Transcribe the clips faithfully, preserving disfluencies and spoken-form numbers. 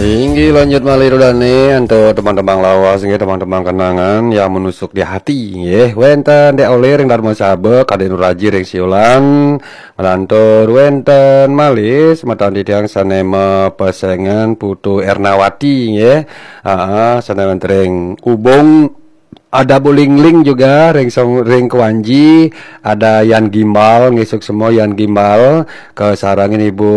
Inggih, lanjut malih ida dané antuk tembang-tembang lawas nggih, tembang-tembang kenangan yang menusuk di hati nggih. Wénten Dék Olé ring Darmasaba, Kadék Nuraji ring Siulan, nglantur wénten malih semeton titiang sané mapesengan Putu Ernawati nggih. Aa, sané wénten ring Ubung, ada Bu Lingling juga ring Song-, ring Kewanji, ada Yan Gimbal, nggih suksma Yan Gimbal, kasarengin Ibu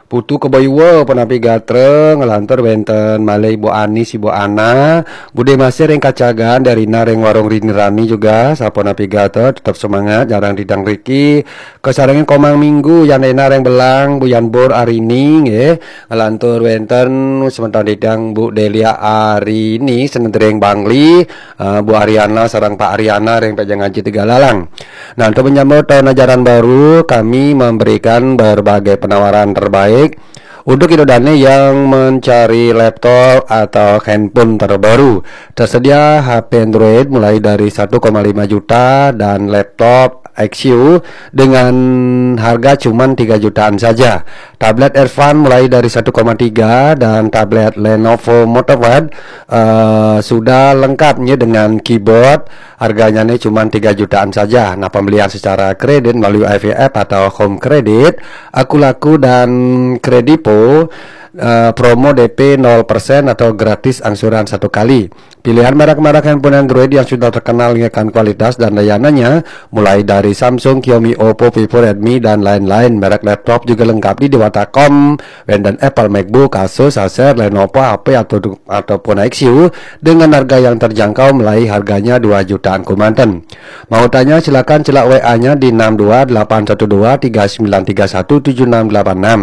Putu Kebaiwa, punapi gatra, nglantur wénten malih Ibu Anis, Ibu Ana, Budé Masih ring Kacagan, Darina ring Warung Rini Rani juga, sapunapi gatra, tetep semangat, jarang didang riki, kasarengin Komang Minggu, Yan Ena ring Belang, Bu Yan Bor Arini, nggih, nglantur wénten semeton titiang Bu Delia Arini, senentering Bangli, eh, Bu Ariana, sareng Pak Ariana, ring Pejang Aji Tiga Lalang. Nah, untuk menyambut tahun ajaran baru, kami memberikan berbagai penawaran terbaik untuk ida dané yang mencari laptop atau handphone terbaru. Tersedia H P Android mulai dari satu koma lima juta dan laptop X U dengan harga cuman tiga jutaan saja. Tablet Irfan mulai dari satu koma tiga dan tablet Lenovo MotoPad, eh, sudah lengkapnya dengan keyboard. Harganya nih cuman tiga jutaan saja. Nah, pembelian secara kredit melalui I V F atau Home Credit, Akulaku dan Kredivo, eh, promo D P nol persen atau gratis angsuran satu kali. Pilihan merek-merek handphone Android yang sudah terkenal dengan kualitas dan layanannya, mulai dari Samsung, Xiaomi, Oppo, Vivo, Redmi, dan lain-lain. Merek laptop juga lengkap di Dewata.com, wénten Apple MacBook, Asus, Acer, Lenovo, H P atau, ataupun X U dengan harga yang terjangkau, mulai harganya dua jutaan kemanten. Mau tanya, silakan celak W A-nya di enam dua delapan satu dua tiga sembilan tiga satu tujuh enam delapan enam.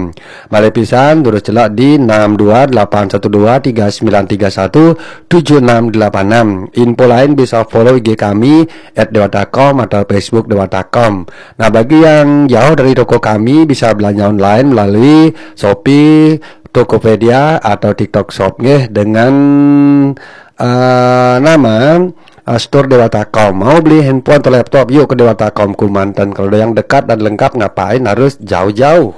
Malih pisan, terus celak di enam dua delapan satu dua tiga sembilan tiga satu tujuh enam delapan enam. Info lain bisa follow I G kami at dewata.com atau Facebook Dewata.com. Nah, bagi yang jauh dari toko kami, bisa belanja online melalui Shopee, Tokopedia, atau TikTok Shop nggih, dengan, eh, nama, eh, Store Dewata.com. Mau beli handphone atau laptop, yuk ke Dewata.com kemanten. Kalau ada yang dekat dan lengkap, ngapain harus jauh-jauh?